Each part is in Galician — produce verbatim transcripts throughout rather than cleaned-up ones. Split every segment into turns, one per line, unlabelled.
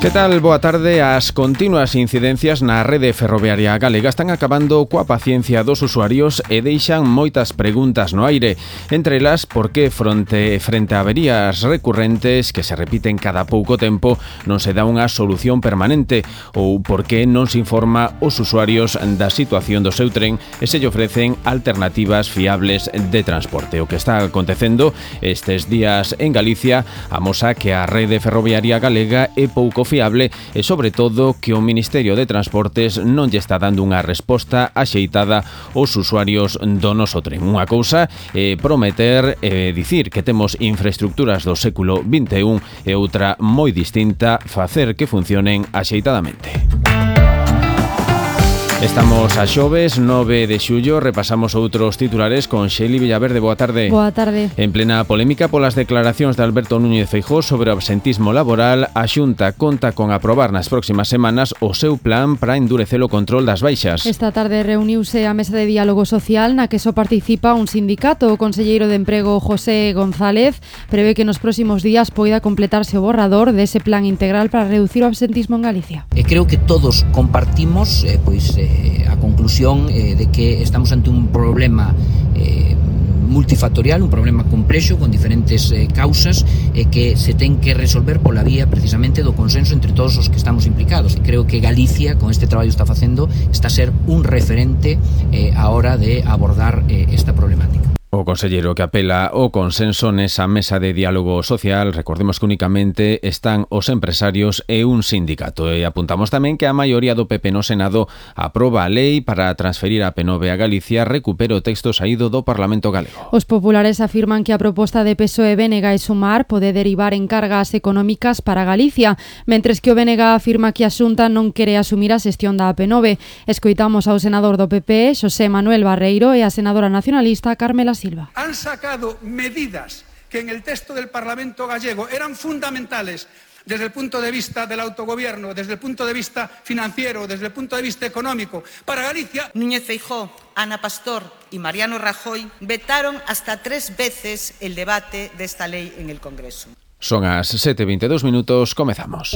Que tal? Boa tarde. As continuas incidencias na rede ferroviaria galega están acabando coa paciencia dos usuarios e deixan moitas preguntas no aire. Entre elas, por que fronte, frente a averías recurrentes que se repiten cada pouco tempo non se dá unha solución permanente, ou por que non se informa os usuarios da situación do seu tren e se lle ofrecen alternativas fiables de transporte. O que está acontecendo estes días en Galicia amosa que a rede ferroviaria galega é pouco fiable e, sobre todo, que o Ministerio de Transportes non lle está dando unha resposta axeitada aos usuarios do noso tren. Unha cousa é prometer e dicir que temos infraestructuras do século vinte e un e outra moi distinta, facer que funcionen axeitadamente. Estamos a xoves, nove de xullo, repasamos outros titulares con Xeli Villaverde. Boa tarde.
Boa tarde.
En plena polémica polas declaracións de Alberto Núñez Feijóo sobre o absentismo laboral, a Xunta conta con aprobar nas próximas semanas o seu plan para endurecer o control das baixas.
Esta tarde reuniuse a mesa de diálogo social na que só participa un sindicato. O conselleiro de Emprego, José González, prevé que nos próximos días poida completarse o borrador dese plan integral para reducir o absentismo en Galicia.
E creo que todos compartimos eh, pois eh, a conclusión eh, de que estamos ante un problema eh, multifactorial, un problema complexo con diferentes eh, causas e eh, que se ten que resolver pola vía precisamente do consenso entre todos os que estamos implicados. E creo que Galicia, con este traballo que está facendo, está a ser un referente eh, a hora de abordar eh, esta problemática.
O conselleiro que apela ao consenso nesa mesa de diálogo social, recordemos que únicamente están os empresarios e un sindicato. E apuntamos tamén que a maioría do P P no Senado aproba a lei para transferir a P nove a Galicia, recupera o texto saído do Parlamento galego.
Os populares afirman que a proposta de P S O E, B N G e Sumar pode derivar en cargas económicas para Galicia, mentres que o B N G afirma que a Xunta non quere asumir a xestión da P nove. Escoitamos ao senador do P P, Xosé Manuel Barreiro, e a senadora nacionalista, Carmela Silva.
Han sacado medidas que en el texto del Parlamento gallego eran fundamentales desde el punto de vista del autogobierno, desde el punto de vista financiero, desde el punto de vista económico. Para Galicia,
Núñez Feijóo, Ana Pastor y Mariano Rajoy vetaron hasta tres veces el debate de esta ley en el Congreso.
Son as sete e vinte e dous minutos, comezamos.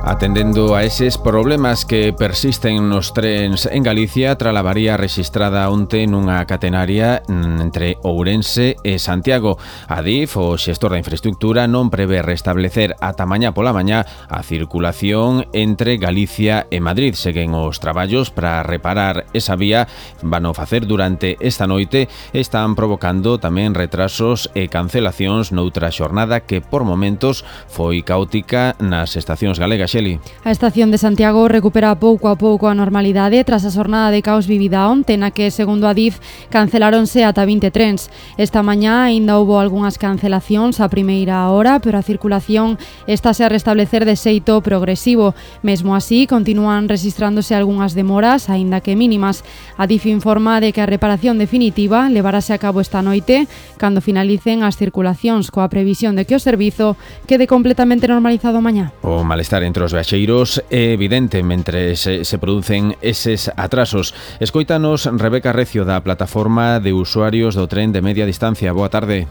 Atendendo a eses problemas que persisten nos trens en Galicia, tras a avaría rexistrada onte nunha catenaria entre Ourense e Santiago. A DIF, o xestor da infraestructura, non prevé restablecer ata mañá pola mañá a circulación entre Galicia e Madrid. Seguen os traballos para reparar esa vía, van a facer durante esta noite, están provocando tamén retrasos e cancelacións noutra xornada que por momentos foi caótica nas estacións galegas. Xeli.
A estación de Santiago recupera pouco a pouco a normalidade tras a xornada de caos vivida onte, na que, segundo a DIF, canceláronse ata vinte trens. Esta mañá aínda houbo algunhas cancelacións a primeira hora, pero a circulación estáse a restablecer de xeito progresivo. Mesmo así, continúan rexistrándose algunhas demoras, aínda que mínimas. A DIF informa de que a reparación definitiva levarase a cabo esta noite, cando finalicen as circulacións, coa previsión de que o servizo quede completamente normalizado mañá.
O malestar entre os viaxeiros é evidente mentre se, se producen eses atrasos. Escoítanos Rebeca Recio, da plataforma de usuarios do tren de media distancia. Boa tarde.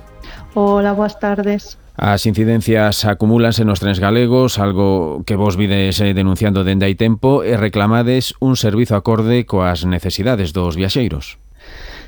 Hola, boas tardes.
As incidencias acumúlanse nos trens galegos, algo que vos vides denunciando dende hai tempo, e reclamades un servizo acorde coas necesidades dos viaxeiros.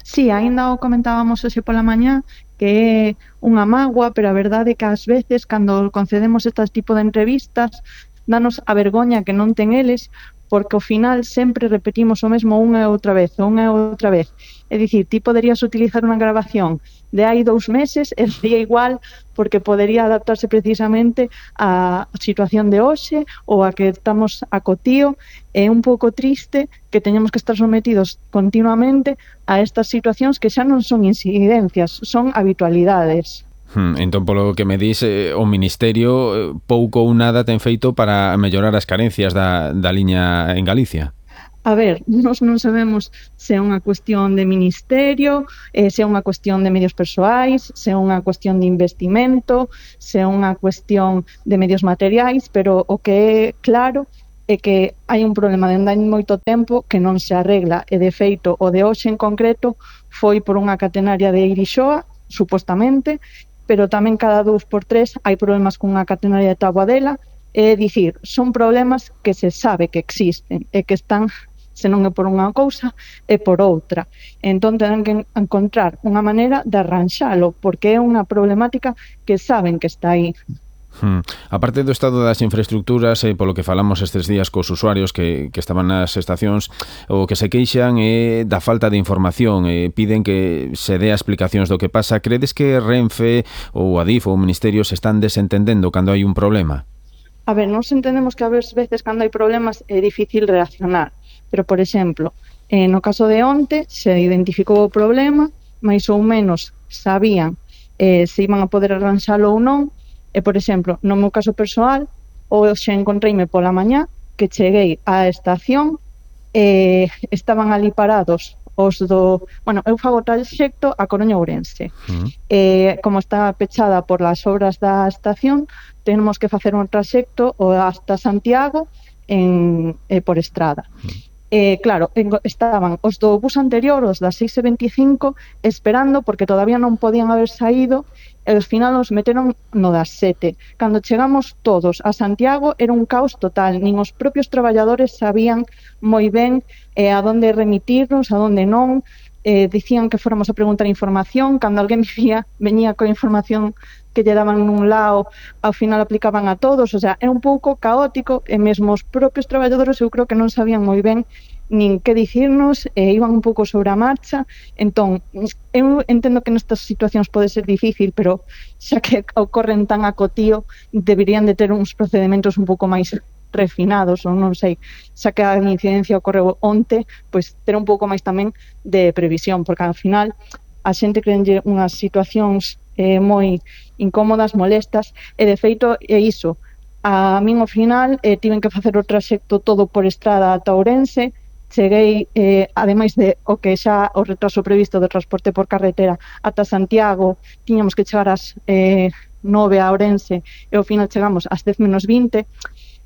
Sí, aínda o comentábamos hoxe pola mañá, que é unha mágoa, pero a verdade é que ás veces, cando concedemos este tipo de entrevistas, danos a vergoña que non ten eles, porque ao final sempre repetimos o mesmo unha e outra vez, unha e outra vez. É dicir, ti poderías utilizar unha grabación de hai dous meses e sería igual, porque podería adaptarse precisamente á situación de hoxe ou a que estamos a cotío. É un pouco triste que teñamos que estar sometidos continuamente a estas situacións que xa non son incidencias, son habitualidades.
Hmm, entón, polo que me dis, eh, o Ministerio pouco ou nada ten feito para mellorar as carencias da, da liña en Galicia.
A ver, nós non sabemos se é unha cuestión de ministerio, eh, se é unha cuestión de medios persoais, se é unha cuestión de investimento, se é unha cuestión de medios materiais, pero o que é claro é que hai un problema de onde hai moito tempo que non se arregla, e de feito o de hoxe en concreto foi por unha catenaria de Irixoa, supostamente, pero tamén cada dous por tres hai problemas cunha catenaria de Taboadela. É dicir, son problemas que se sabe que existen e que están, se non é por unha cousa, é por outra. Entón, tenen que encontrar unha maneira de arranxalo, porque é unha problemática que saben que está aí.
Hmm. A parte do estado das infraestructuras, eh, polo que falamos estes días cos usuarios que, que estaban nas estacións, o que se queixan é da falta de información, eh, piden que se dé explicacións do que pasa. Credes que Renfe ou Adif ou o Ministerio se están desentendendo cando hai un problema?
A ver, nós entendemos que a veces cando hai problemas é difícil reaccionar, pero, por exemplo, eh, no caso de onte se identificou o problema, máis ou menos sabían eh, se iban a poder arranxalo ou non. E, por exemplo, no meu caso persoal, hoxe encontreime pola mañá que cheguei á estación e estaban ali parados os do... Bueno, eu fago traxecto a Coruña Ourense. Uh-huh. E, como está pechada por las obras da estación, tenemos que facer un traxecto hasta Santiago en, eh, por estrada. Uh-huh. Eh, claro, estaban os do bus anterior, os das seis e veinticinco, esperando porque todavía non podían haber saído, e ao final os meteron no das sete. Cando chegamos todos a Santiago era un caos total, nin os propios traballadores sabían moi ben eh, a donde remitirnos, a donde non, eh, dicían que fóramos a preguntar información, cando alguén vivía, veñía coa información que lle daban nun lado, ao final aplicaban a todos, o sea, é un pouco caótico, e mesmo os propios traballadores eu creo que non sabían moi ben nin que dicirnos, e iban un pouco sobre a marcha. Entón, eu entendo que nestas situacións pode ser difícil, pero xa que ocorren tan a cotío, deberían de ter uns procedimentos un pouco máis refinados, ou non sei, xa que a incidencia ocorreu onte, pois ter un pouco máis tamén de previsión, porque ao final a xente creenlle unhas situacións eh, moi incómodas, molestas, e de feito é iso. A min ao final eh, tiven que facer o traxecto todo por estrada ata Ourense. Cheguei, eh, ademais de o que xa o retraso previsto do transporte por carretera ata Santiago, tiñamos que chegar ás eh, nove a Ourense, e ao final chegamos ás dez menos vinte.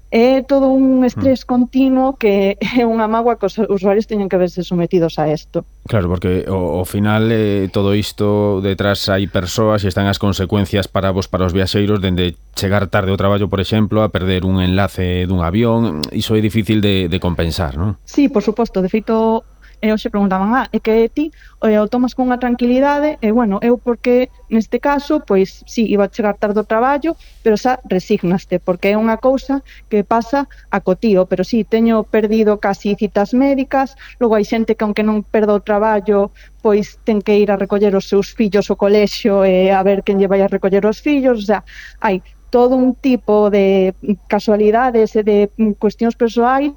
É todo un estrés continuo que é unha mágoa que os usuarios teñen que verse sometidos a isto.
Claro, porque ao final eh, todo isto detrás hai persoas e están as consecuencias para vos, para os viaxeiros, dende chegar tarde ao traballo, por exemplo, a perder un enlace dun avión. Iso é difícil de, de compensar, non?
Sí, por suposto. De feito, e hoxe preguntaban, ah, é que ti o tomas con unha tranquilidade, e bueno, eu porque neste caso, pois sí, iba a chegar tarde ao traballo, pero xa resignaste, porque é unha cousa que pasa a cotío, pero sí, teño perdido casi citas médicas, logo hai xente que aunque non perda o traballo, pois ten que ir a recoller os seus fillos ao colexio e a ver quen lle vai a recoller os fillos, o sea, hai todo un tipo de casualidades e de cuestións persoais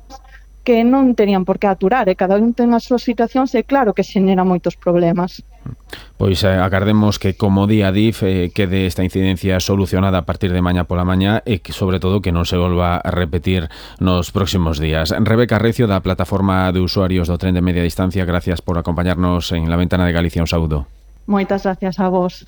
que non tenían por que aturar, e cada un ten as súas situacións, e claro que xenera moitos problemas.
Pois eh, agardemos que, como di Adif, eh, quede esta incidencia solucionada a partir de mañá pola mañá, e que, sobre todo, que non se volva a repetir nos próximos días. Rebeca Recio, da Plataforma de Usuarios do Tren de Media Distancia, gracias por acompañarnos en La Ventana de Galicia. Un saúdo.
Moitas gracias a vos.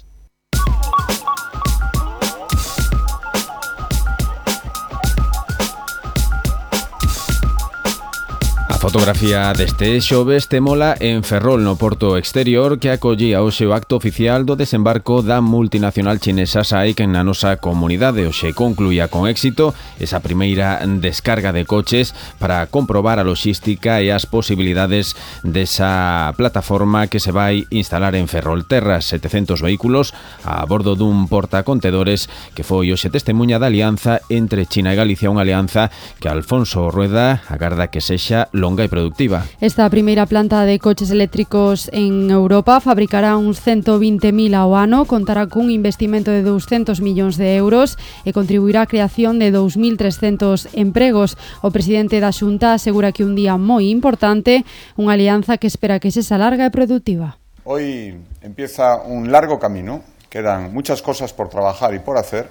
Fotografía deste xoves témola en Ferrol, no porto exterior, que acollía hoxe o acto oficial do desembarco da multinacional chinesa SAIC na nosa comunidade. Hoxe concluía con éxito esa primeira descarga de coches para comprobar a logística e as posibilidades desa plataforma que se vai instalar en Ferrolterras. setecentos vehículos a bordo dun portacontedores que foi hoxe testemunha da alianza entre China e Galicia, unha alianza que Alfonso Rueda agarda que sexa longa e productiva.
Esta primeira planta de coches eléctricos en Europa fabricará uns ciento vinte mil ao ano, contará cun investimento de douscentos millóns de euros e contribuirá á creación de dous mil trescentos empregos. O presidente da Xunta asegura que un día moi importante, unha alianza que espera que sexa larga e productiva.
Hoy empieza un largo camino, quedan muchas cosas por trabajar y por hacer,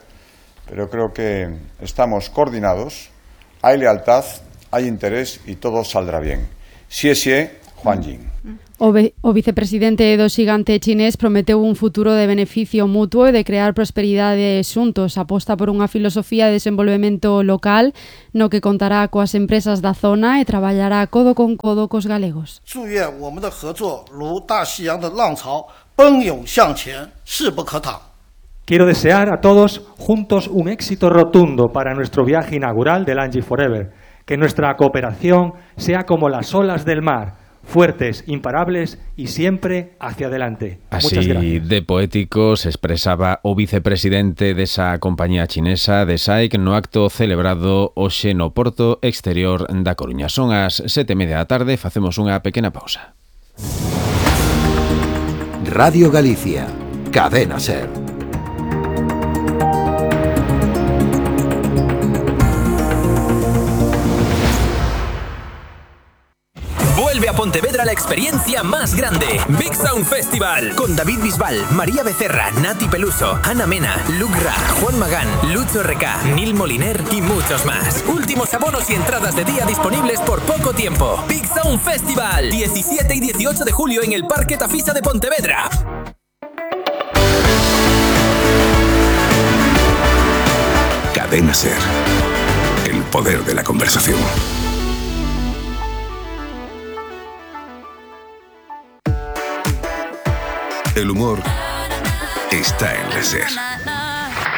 pero creo que estamos coordinados, hay lealtad, hay interés y todo saldrá bien. Xie xie, Juan Jin.
O, ve, o vicepresidente do xigante chinés prometeu un futuro de beneficio mutuo e de crear prosperidade xuntos. Aposta por unha filosofía de desenvolvemento local no que contará coas empresas da zona e traballará codo con codo cos galegos.
Quiero desear a todos juntos un éxito rotundo para nuestro viaje inaugural del Angie Forever. Que nuestra cooperación sea como las olas del mar, fuertes, imparables y siempre hacia adelante.
Así
Muchas gracias.
De poético se expresaba o vicepresidente desa compañía chinesa de S A I C no acto celebrado hoxe no Porto Exterior da Coruña. Son as sete e media da tarde, facemos unha pequena pausa.
Radio Galicia, Cadena SER.
Vuelve a Pontevedra la experiencia más grande, Big Sound Festival, con David Bisbal, María Becerra, Nati Peluso, Ana Mena, Luke Ra, Juan Magán, Lucho R K, Neil Moliner y muchos más. Últimos abonos y entradas de día disponibles por poco tiempo. Big Sound Festival, diecisiete y dieciocho de julio en el Parque Tafisa de Pontevedra.
Cadena SER, el poder de la conversación. El humor está en la SER.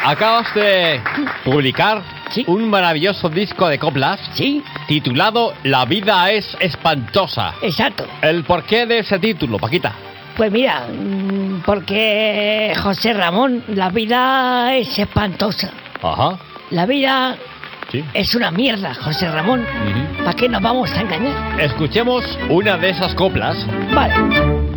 Acabas de publicar
¿Sí?
un maravilloso disco de coplas,
¿Sí?
titulado La vida es espantosa.
Exacto.
¿El porqué de ese título, Paquita?
Pues mira, porque José Ramón, la vida es espantosa.
Ajá.
La vida
Sí.
es una mierda, José Ramón.
Uh-huh.
¿Para qué nos vamos a engañar?
Escuchemos una de esas coplas.
Vale.